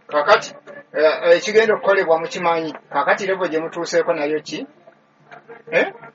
Kakati ekigenda okukolebwa mukimanyi. Kakati level gye mutuuseeko nayo ki?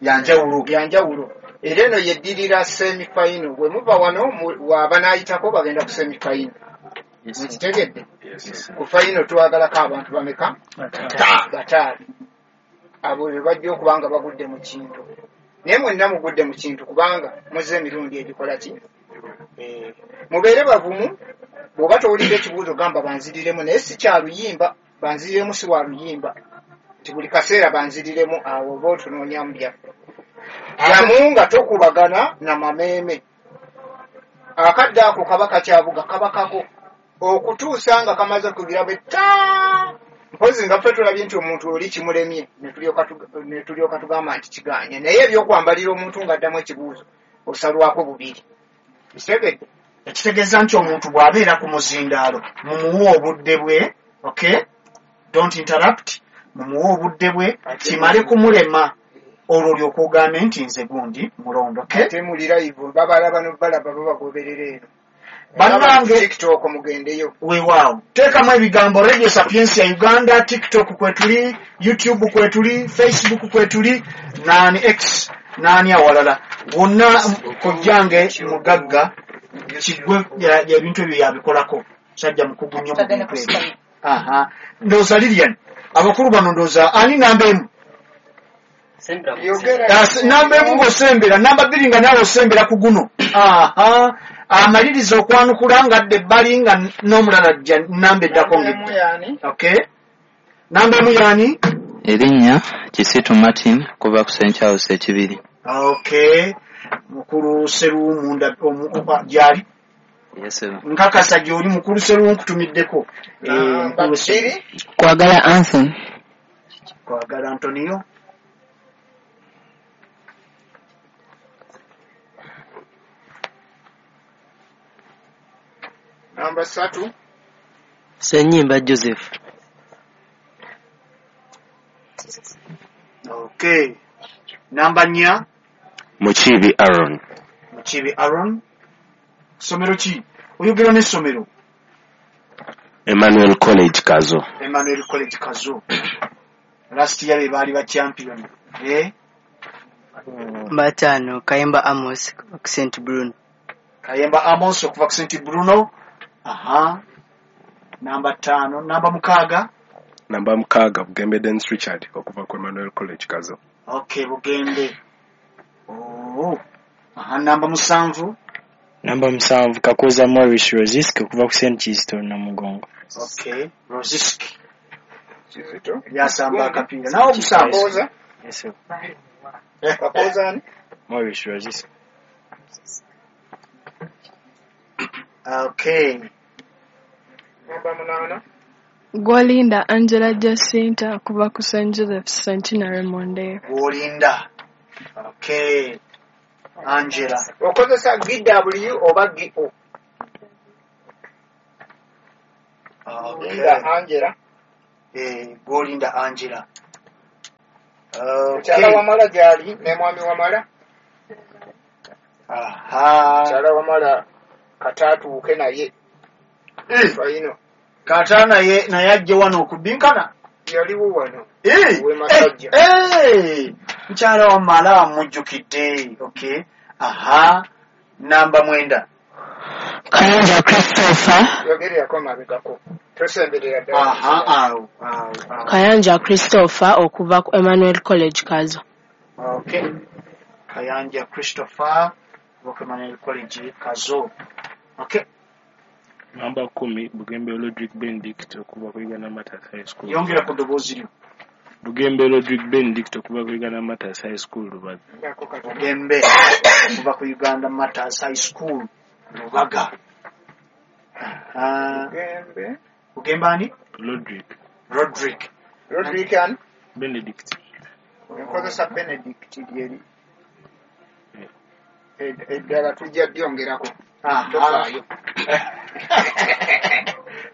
Yanjawulo. Yanjawulo. Era eno yeddirira semi-final. Bwe muva wano wabanaayitako bagenda ku semi-final. Mukitegedde? Ku final twagalako abantu bameka? 5. Abo be bajja okuba nga bagudde mu kintu. Naye mwenna mugudde mu kintu kubanga muzze emirundi egikola ki? Mubeere bavumu. Bw'oba towulidde ekibuuzo gamba banziriremu, naye si kya luyimba, banziriremu si wa luyimba. Nti buli kaseera banziriremu awo oba otunoonyamu byaffe. Jamu nga tokubagana na mameeme. Akadde ako kaba kakyabuga, kaba kako. Okutuusa nga kamaze kugira bwe taa. Mpozi nga ffe tulabye nti omuntu oli kimulemye, ne tulyoka tugamba nti kigaanye. Naye ebyokwambalira omuntu ng'addamu ekibuuzo osalwako bubiri. Kitegedde? Ekitegeeza nti omuntu bw'abeera ku muzindaalo mumuwe obudde bwe, okay? Don't interrupt, mumuwe obudde bwe kimale kumulema olwo olyoka ogambe nti nze gundi mulondo, okay? Ate muli live babalaba n'obalaba babagoberera eno. Bannange TikTok mugendeyo. Weewaawo. Teekamu ebigambo Radio Sapientia Uganda, TikTok kwetuli, YouTube kwetuli, Facebook kwetuli, nani X, nani awalala. Wonna kojjange mugagga kigwe ebintu ebyo yabikolako. Sajja mukugu nnyo mu bintu ebyo. Aha. Ndowooza Lilian, abakulu bano ndowooza ani namba emu? Namba emu ng'osembera, namba 2 nga naawe osembera ku guno. Aha. Amaliriza okwanukula ng'adda ebbali nga n'omulala ajja namba eddako ng'edda. Okay. Namba emu yaani? Erinnya Kisitu Martin kuva ku St. Charles Ekibiri. Okay. Mukulu Seruwu gyali? Yes, nkakasa gy'oli mukulu Seruwu nkutumiddeko. Kwagala Anthony. Kwagala Antonio. Namba 3. Senyimba Joseph. Okay. Namba 4. Mukibi Aaron. Mukibi Aaron. Somero ki? Oyogera n'essomero? Emmanuel College Kazo. Emmanuel College Kazo. Last year be baali ba champion. 5 Kayemba Amos ku St. Bruno. Kayemba Amos okuva ku St. Bruno. Aha. Namba 5, namba 6. Namba 6 Bugembe Dennis Richard okuva ku Emmanuel College Kazo. Okay, Bugembe. Oh. Aha, namba 7. Namba 7 Kakoza Morris Rozisk okuva ku St. Kizito Namugongo. Okay, Rozisk. Kizito. Yasamba akapiira. Nawo okusamba. Yes sir. Kakoza ani? Morris Rozisk. Okay. Namba 8. Gwolinda Angela Jacinta okuva ku St. Joseph's Centenary Monday. Gwolinda. Okay. Angela. Okozesa GW oba GO? Okay. Gwolinda Angela. Gwolinda Angela. Okay. Mukyala Wamala gyali ne mwami Wamala. Aha. Mukyala Wamala kataatuuke naye. Faino. Kata naye ajje wano okubbinkana. Yaliwo wano. We Masajja. Mukyala Wamala mujjukidde. Okay. Aha. Namba 9. Kayanja Christopher. Yogererako mabegako. Tosemberera ddala. Aha, awo. Kayanja Christopher okuva ku Emmanuel College Kazo. Okay. Kayanja Christopher okuva ku Emmanuel College Kazo. Okay. Namba 10 Bugembe Rodrick Benedict okuva ku Uganda Martyrs High School. Yongera ku ddoboozi lyo. Bugembe Rodrick Benedict okuva ku Uganda Martyrs High School Lubaga. Bugembe okuva ku Uganda Martyrs High School Lubaga. Bugembe. Bugembe ani? Rodrick. Rodrick. Rodrick ani? Benedict. Nkozesa Benedict lyeri. Eddala tujja byongerako. Tofaayo.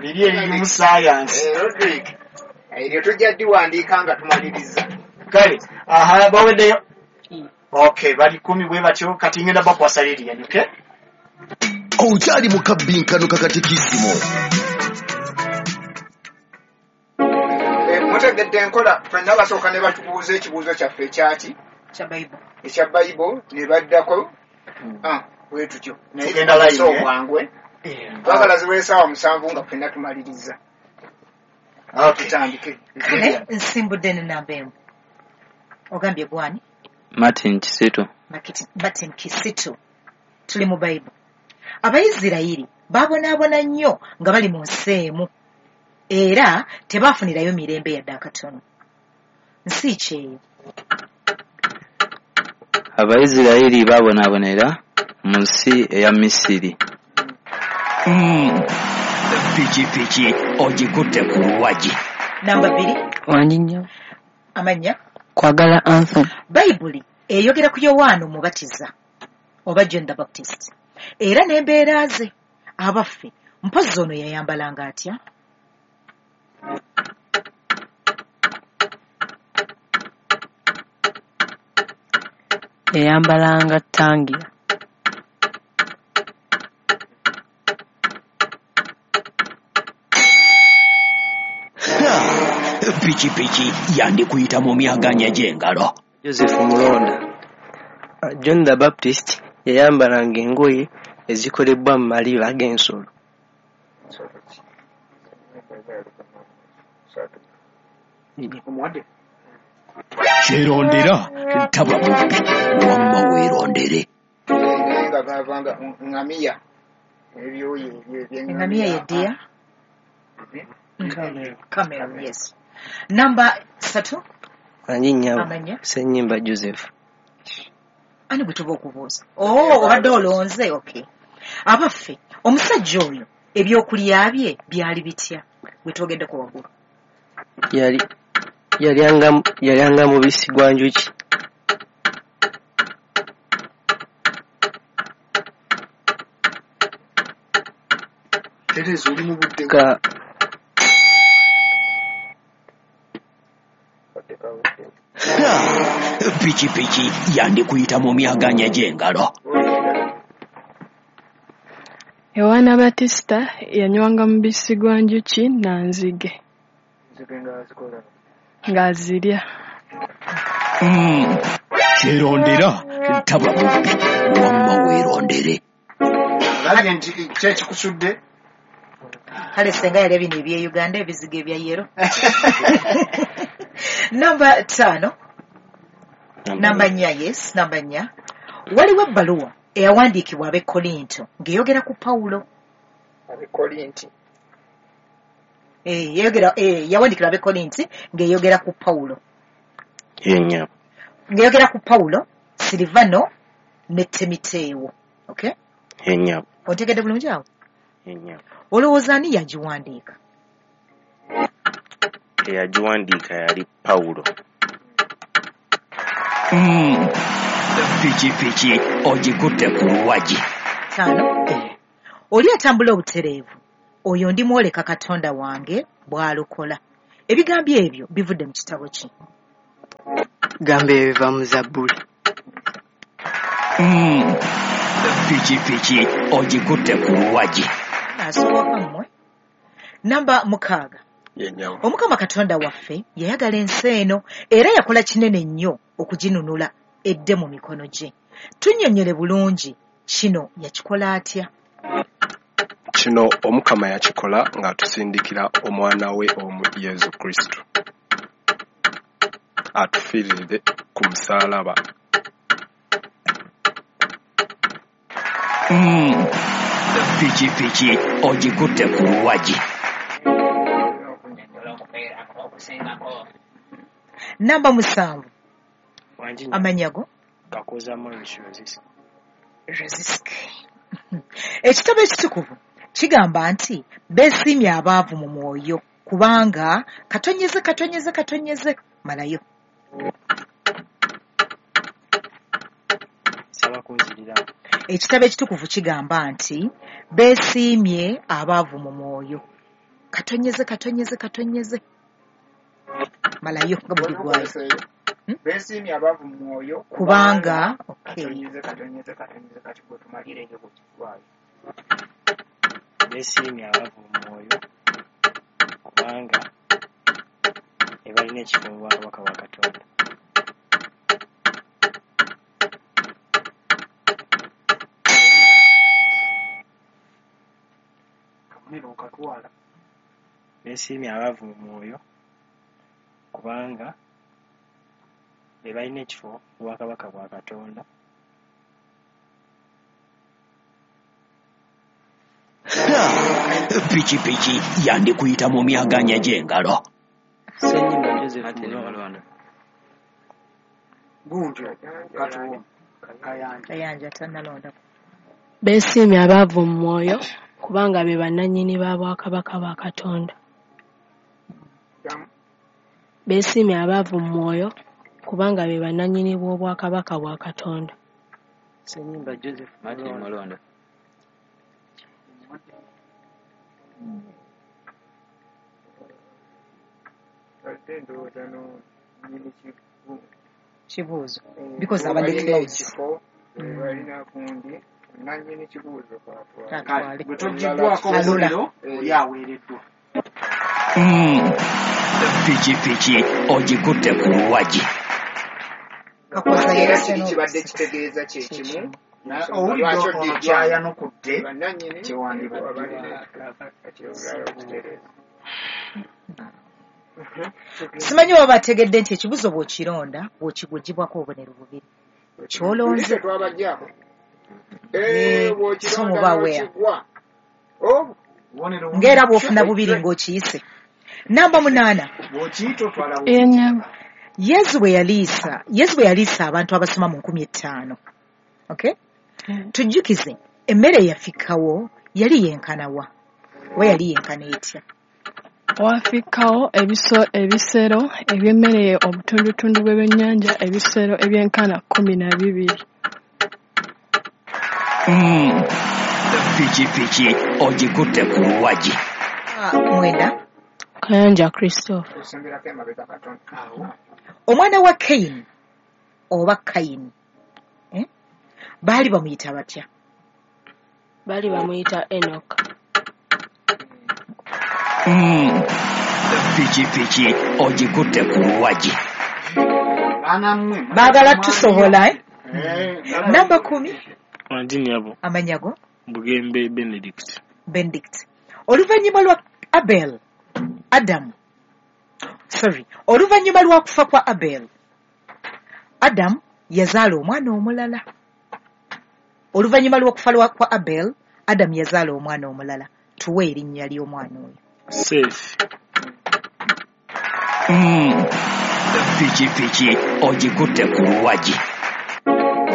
Liri eririmu science. Rodrick. Eryo tujja ddiwandiika nga tumaliriza. Kale, aha, baweddeyo. Okay, bali 10 bwe batyo kati ngenda bakwasa Lilian, okay? Okyali mu kabbinkano kakatikisimu. Mutegedde enkola ffenna basooka ne batubuuza ekibuuzo kyaffe ekyaki? Ekya Bible ne baddako bwe tutyo. Naye Tugenda line, eh? obwangwe. Twagala ziwe essaawa 7 nga ffenna tumaliriza. Tutandike. Kale nsimbudde ne namba emu. Ogambye gwani? Martin Kisitu. Martin Kisitu. Tuli mu Bible. Abayisirayiri babonaabona nnyo nga bali mu nsi emu era tebaafunirayo mirembe yadde akatono. Nsi ki eyo? Abayisirayiri babonaabonera mu nsi eya Misiri. Pikipiki ogikutte ku luwagi. Namba 2. Wangi nnyo. Amannya? Kwagala Anthony. Bayibuli eyogera ku Yowaana Omubatiza oba John the Baptist era n'embeera ze. Abaffe, mpozzi ono yayambalanga atya? Yayambalanga ttangira. Pikipiki yandikuyita mu myaganya gy'engalo. Joseph Mulonda. John the Baptist yayambalanga engoye ezikolebwa mu maliba g'ensolo. Kyerondera taba mubbi wamma weerondere. Naye nga gavanga ŋŋamiya ebyoya ebyo eby'eŋŋamiya. Eŋŋamiya ye ddiya? Camel, yes. Namba 3. Wangi nnyabo. Amannya? Ssennyimba Joseph. Ani gwe tuba okubuuza? Oh, obadde olonze, okay. Abaffe, omusajja oyo ebyokulya bye byali bitya? Gwe twogeddeko waggulu. Yalyanga mubisi gwa njuki. Tereza oli mu budde. Pikipiki yandikuyita mu myaganya gy'engalo. Yowaana Batista yanywanga mubisi gwa njuki na nzige. Ng'azirya. Kyerondera taba mubbi wamma weerondere. Alage nti ki ekikusudde? Kale senga yalya bino ebye Uganda ebizige ebya yero. Namba 5. Namba 4, yes, namba 4. Waliwo ebbaluwa eyawandiikibwa ab'e Korinto ng'eyogera ku Pawulo. Ab'e Korinti. Yawandiikirwa ab'e Korinti ng'eyogera ku Pawulo. Ye nnyabo. Ng'eyogera ku Pawulo, Silivano ne Timiteewo. Okay? Ye nnyabo. Ontegedde bulungi awo? Ye nnyabo. Olowooza ani yagiwandiika? Eyagiwandiika yali Pawulo. Pikipiki ogikutte ku luwagi. 5. Oli atambula obutereevu oyo ndimwoleka Katonda wange bw'alokola. Ebigambo ebyo bivudde mu kitabo ki? Gambo ebyo biva mu Zabbuli. Pikipiki ogikutte ku luwagi. Asooka mmwe. Namba 6. Omukama Katonda waffe yayagala ensi eno era yakola kinene nnyo okuginunula edde mu mikono gye. Tunnyonnyole bulungi kino yakikola atya? Kino Omukama yakikola ng'atusindikira omwana we omu Yesu Kristo atufiirire ku musaalaba. Pikipiki ogikutte ku luwagi. Namba 7. Amannya go? Kakoza Morris Rosiski. Rosiski. Ekitabo ekitukuvu kigamba nti beesiimye abaavu mu mwoyo kubanga katonyeze katonyeze katonyeze malayo. Saba kunziriramu. Ekitabo ekitukuvu kigamba nti beesiimye abaavu mu mwoyo. Katonyeze katonyeze katonyeze malayo nga bwe bigwayo. Beesiimye abaavu mu mwoyo kubanga katonyeze katonyeze katonyeze kati gwe tumalireyo bwe kigwayo. Beesiimye abaavu mu mwoyo kubanga balina ekifo mu bwakabaka bwa Katonda. Kabonero okatwala. Beesiimye abaavu mu mwoyo kubanga be balina ekifo mu bwakabaka bwa Katonda. Pikipiki yandikuyita mu myaganya gy'engalo. Ssenyimba Joseph Martin Mulonda. Mulonda. Gundi katuwo Kayanja. Kayanja tannalonda. Beesiimye abaavu mu mwoyo kubanga be bannannyini ba bwakabaka bwa Katonda. Beesiimye abaavu mu mwoyo kubanga be bannannyini bw'obwakabaka bwa Katonda. Ssenyimba Joseph Martin Mulonda. Mulonda. Kibuuzo because abadde close. Kale Atwale. bwe togiggwako Alula. obubonero oli aweereddwa. Pikipiki ogikutte ku luwagi. Kakooza Era yayise kiri kibadde n'okusika. kitegeeza kye kimu. Owulidde Lwaki ono oddiddwamu? kyayanukudde Bannannyini kyewandibadde. abalina kati olulala okutereeza. Simanyi oba bategedde nti ekibuuzo bw'okironda bw'okigugibwako obubonero bubiri. Ky'olonze. Tuli tetwabaggyako. Eh, so Bw'okironda muba aware. n'okigwa. Oh, Obubonero Ng'era bubiri. bw'ofuna bubiri ng'okiyise. Namba 8. Bw'okiyita otwala bubiri. Enyabo. Yesu bwe yaliisa abantu abasoma mu 5000. Okay? Tujjukize emmere eyafikkawo yali yenkana wa? Oba yali yenkana etya? Wafikkawo ebisero eby'emmere obutundutundu bw'ebyennyanja ebisero ebyenkana 12. Pikipiki ogikutte ku luwagi. 9. Kayanja Christopher. osemberako emabega katono. Awo. Omwana wa Kayini oba Kayini eh? Baali bamuyita batya? Baali bamuyita Enoch. Pikipiki ogikutte ku luwagi. Baana mmwe. Baagala tusobola eh? Eh, Namba 10. Wangi nnyabo. Amannya go Bugembe Benedict. Benedict. Oluvannyuma lwa Abel Adam sorry, oluvannyuma lwa kufa kwa Abel Adam yazaala omwana omulala. Oluvannyuma lw'okufa kwa Abel Adam yazaala omwana omulala. Tuwe erinnya ly'omwana oyo. Safe. Pikipiki ogikutte ku luwagi.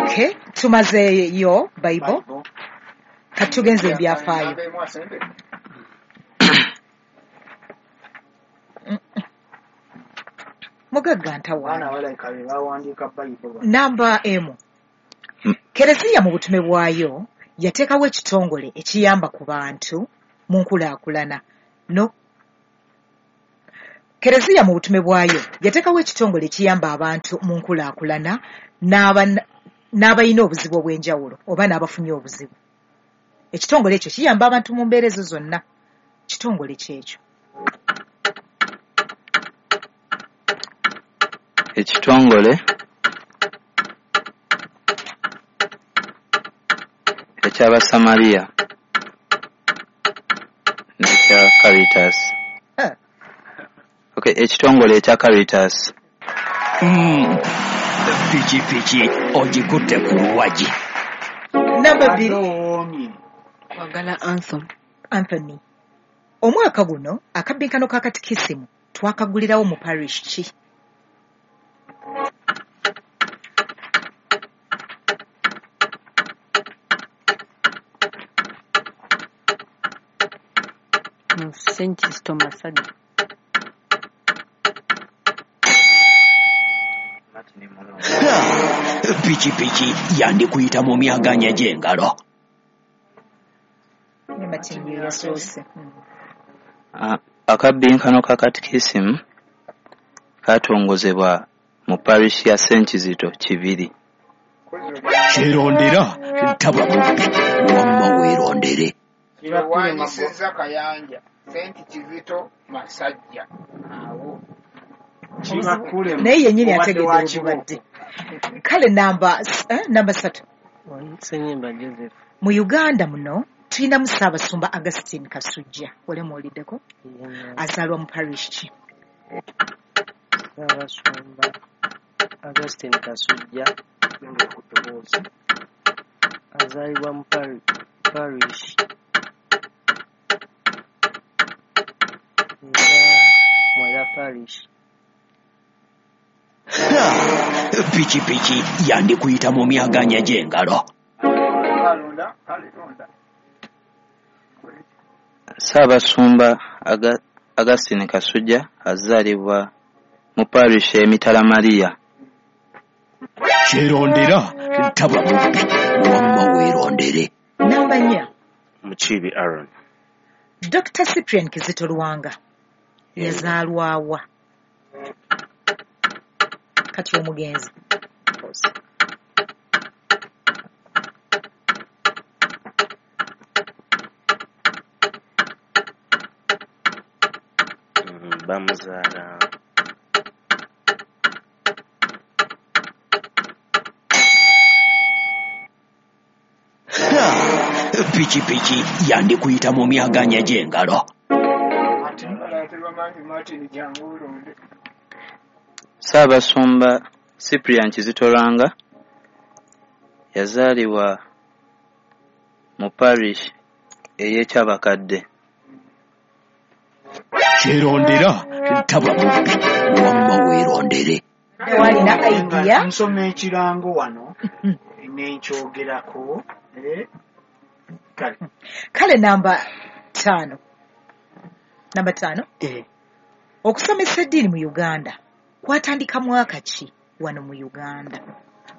Okay, tumazeeyo Bible. Bible. Kati tugenze ebyafaayo. Namba emu asembe. Mugagga Abaana ntawaana. balabika be bawandiika Bible bano. Namba 1. Kereziya mu butume bwayo yateekawo ekitongole ekiyamba ku bantu mu nkulaakulana. No. Kereziya mu butume bwayo yateekawo ekitongole ekiyamba abantu mu nkulaakulana n'abalina obuzibu obw'enjawulo oba n'abafunye obuzibu. Ekitongole ekyo kiyamba abantu mu mbeera ezo zonna. Kitongole kyekyo. Ekitongole eky'Abasamaliya n'ekya Caritas. Eh. Okay, ekitongole ekya Caritas. Pikipiki ogikutte ku luwagi. Namba Obadde 2. owoomye. Kwagala Anthony. Anthony. Omwaka guno akabbinkano ka katikisimu twakagulirawo mu parish ki? Mu St. Kizito Masajja. Martin Mulonda. Pikipiki yandikuyita mu myaganya gy'engalo. Ne Martin ye yasoose. Akabbinkano ka katikisimu katongozebwa mu parish ya St. Kizito Kibiri. Kyerondera taba mubbi wamma weerondere. Kiwanyisizza Kayanja St. Kizito Masajja. Awo. Naye yennyini ategedde webubadde. Kale namba 3. Ssenyimba Joseph. Mu Uganda muno tulinamu Ssaabasumba Augustine Kasujja, ole muwuliddeko? Azaalwa mu parish ki? Ssaabasumba Augustine Kasujja azaalibwa mu parish Mwera parish. Pikipiki yandikuyita mu myaganya gy'engalo. Ssaabasumba Augustine Kasujja azaalibwa mu parish e Mitala Maria. Kyerondera taba mubbi, wamma weerondere. Namba 4. Mukiibi Aaron. Dr. Cyprian Kizito Lwanga yazaalwa wa? Kati omugenzi. Bamuzaala Pikipiki yandikuyita mu myaganya gy'engalo. Ssaabasumba Cyprian Kizito Lwanga yazaalibwa mu parish ey'e Kyabakadde. Kyerondera taba mubbi, wamma weerondere. Walina idea? Nsoma ekirango wano nenkyogerako. Kale namba 5. Namba 5. Okusomesa eddiini mu Uganda kwatandika mwaka ki wano mu Uganda?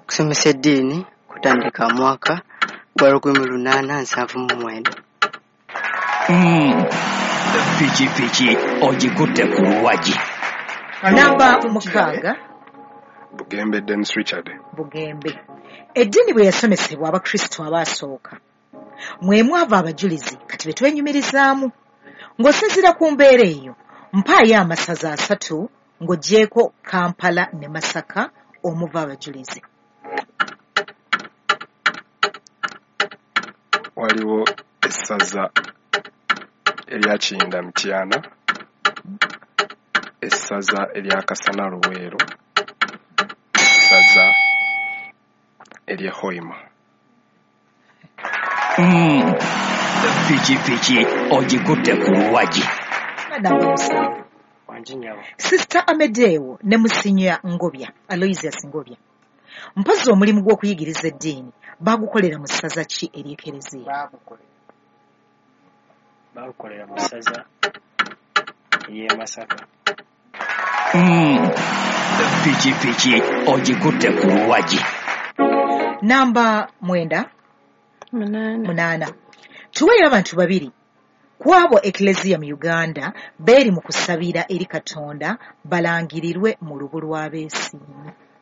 Okusomesa eddiini kutandika mwaka gwa 1879. Pikipiki ogikutte ku luwagi. Namba 6. Bugembe Dennis Richard. Bugembe. Eddiini bwe yasomesebwa Abakristo abaasooka, mwe mwava abajulizi kati be twenyumirizaamu. Ng'osinziira ku mbeera eyo, mpaayo amasaza 3 ng'oggyeeko Kampala ne Masaka omuva abajulizi. Waliwo essaza erya Kiyinda Mityana, essaza erya Kasana Luweero, essaza ery'e Hoima. Pikipiki ogikutte ku luwagi. Namba 7. Sister Amedeo ne Musinya Ngobya, Aloysius Ngobya, mpozzi omulimu gw'okuyigiriza eddiini baagukolera mu ssaza ki ery'Ekereziya? Baagukolera mu ssaza ery'e Masaka. Pikipiki ogikutte ku luwagi. Namba 9. 8. Tuweeyo abantu 2 ku abo Eklezia mu Uganda beeri mu kusabira eri Katonda balangirirwe mu lubu lw'abeesiimye.